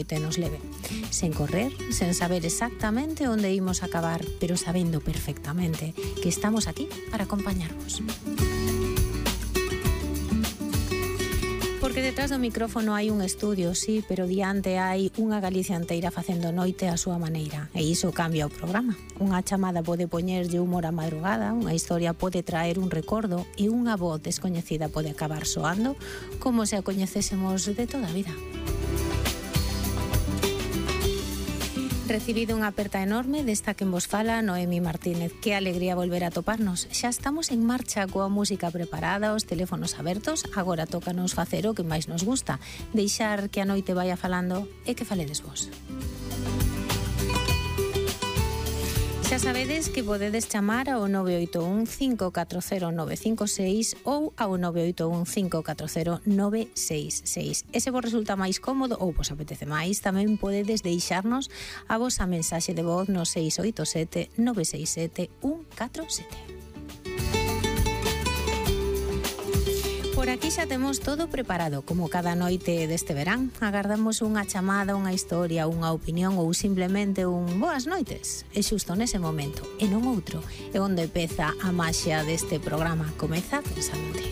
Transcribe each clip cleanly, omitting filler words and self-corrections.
noite nos leve. Sen correr, sen saber exactamente onde imos acabar, pero sabendo perfectamente que estamos aquí para acompañarvos. Porque detrás do micrófono hai un estudio, sí, pero diante hai unha Galicia inteira facendo noite a súa maneira. E iso cambia o programa. Unha chamada pode poñerlle humor á madrugada, unha historia pode traer un recordo e unha voz descoñecida pode acabar soando como se a coñecésemos de toda a vida. Recibido unha aperta enorme desta quen vos fala Noemi Martínez. Que alegría volver a toparnos. Xa estamos en marcha coa música preparada, os teléfonos abertos. Agora tócanos facer o que máis nos gusta, deixar que a noite vaya falando e que faledes vos. Xa sabedes que podedes chamar ao 981 540 956 ou ao 981 540 966. E se vos resulta máis cómodo ou vos apetece máis, tamén podedes deixarnos a vosa mensaxe de voz no 687 967 147. Por aquí xa temos todo preparado, como cada noite deste verán. Agardamos unha chamada, unha historia, unha opinión ou simplemente un boas noites. É xusto nese momento, e non outro. É onde peza a maxia deste programa. Comeza Pensamente.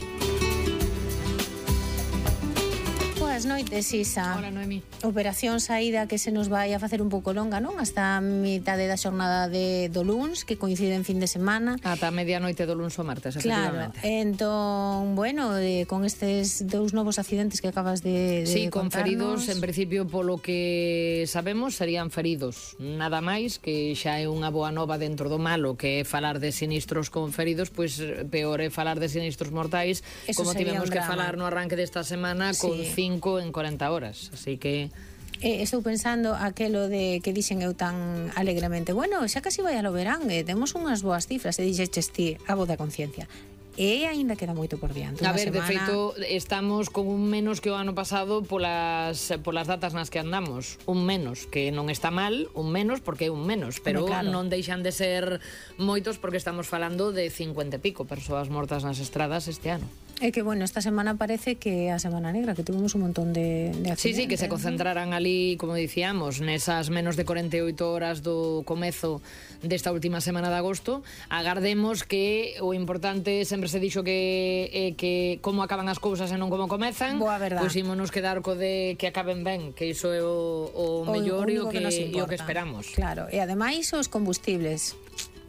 Boas noites, Isa. Hola, Noemi. Operación saída que se nos vai a facer un pouco longa, non? Hasta a mitade da xornada do luns, que coincide en fin de semana. Ata medianoite do luns ou martes, claro. Entón, bueno, con estes dous novos accidentes que acabas de sí, con contarnos. Feridos, en principio, polo que sabemos, serían feridos. Nada máis, que xa é unha boa nova dentro do malo, que é falar de sinistros con feridos, pois peor é falar de sinistros mortais, eso como tivemos que falar no arranque desta semana, sí, con 5 en 40 horas, así que estou pensando aquelo de que dixen eu tan alegremente, bueno, xa casi vai alo verán, temos unhas boas cifras, e dixeches ti, a voz da conciencia. E aínda queda moito por diante. A ver, de feito, estamos con un menos que o ano pasado polas datas nas que andamos. Un menos, que non está mal, un menos porque é un menos, pero claro, non deixan de ser moitos porque estamos falando de 50 e pico persoas mortas nas estradas este ano. É que, bueno, esta semana parece que a Semana Negra, que tuvimos un montón de accidentes. Sí, que se concentraran ali, como dicíamos, nesas menos de 48 horas do comezo desta última semana de agosto. Agardemos que o importante sempre se dixo que como acaban as cousas e non como comezan. Boa verdad. Pois ímonos quedar co de que acaben ben, que iso é o mellor e o que esperamos. Claro, e ademais os combustibles,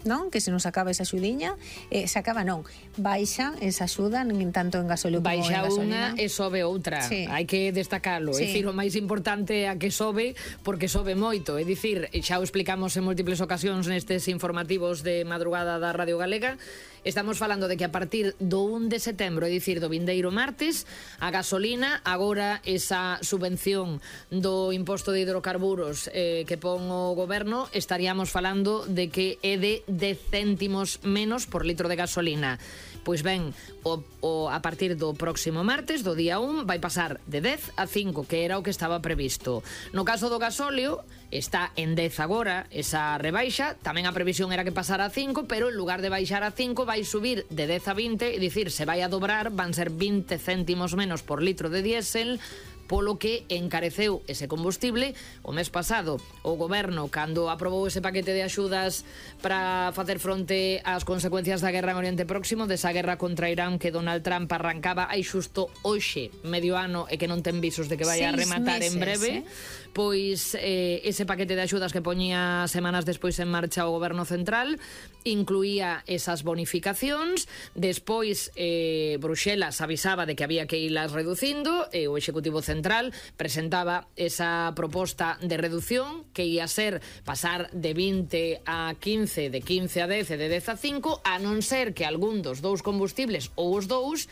non? Que se nos acaba esa xudiña, se acaba non, baixa esa xuda, nin tanto en gasóleo como en gasolina. Baixa unha e sobe outra, sí, hai que destacalo, sí. É dicir, o máis importante é a que sobe, porque sobe moito, é dicir, xa o explicamos en múltiples ocasións nestes informativos de madrugada da Radio Galega. Estamos falando de que a partir do 1 de setembro, é dicir, do vindeiro martes, a gasolina, agora esa subvención do imposto de hidrocarburos que pon o goberno, estaríamos falando de que é de 10 céntimos menos por litro de gasolina. Pois ben, a partir do próximo martes, do día 1, vai pasar de 10 a 5, que era o que estaba previsto. No caso do gasóleo, está en 10 agora, esa rebaixa, tamén a previsión era que pasara a 5, pero en lugar de baixar a 5, vai subir de 10 a 20, é dicir, se vai a dobrar, van ser 20 céntimos menos por litro de diésel, polo que encareceu ese combustible o mes pasado. O goberno, cando aprobou ese paquete de axudas para facer fronte ás consecuencias da guerra en Oriente Próximo, desa guerra contra Irán que Donald Trump arrancaba hai xusto hoxe, medio ano, e que non ten visos de que vai a rematar en breve, pois ese paquete de axudas que poñía semanas despois en marcha o goberno central incluía esas bonificacións. Despois Bruxelas avisaba de que había que irlas reducindo, e o Executivo Central presentaba esa proposta de reducción que ia ser pasar de 20 a 15, de 15 a 10 e de 10 a 5, a non ser que algún dos dous combustibles ou os dous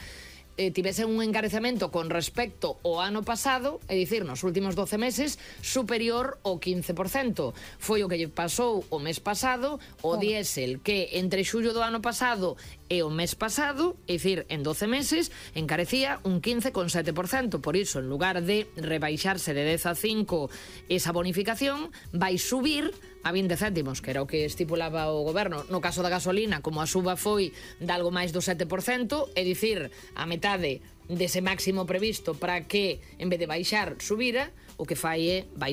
tivese un encarecemento con respecto ao ano pasado, é dicir, nos últimos 12 meses, superior ao 15%. Foi o que lle pasou o mes pasado, o diésel, que entre xullo do ano pasado e o mes pasado, é dicir, en 12 meses, encarecía un 15,7%. Por iso, en lugar de rebaixarse de 10 a 5 esa bonificación, vai subir a 20 céntimos, que era o que estipulaba o goberno. No caso da gasolina, como a suba foi de algo máis do 7%, é dicir, a metade dese máximo previsto para que, en vez de baixar, subira, o que fai é baixar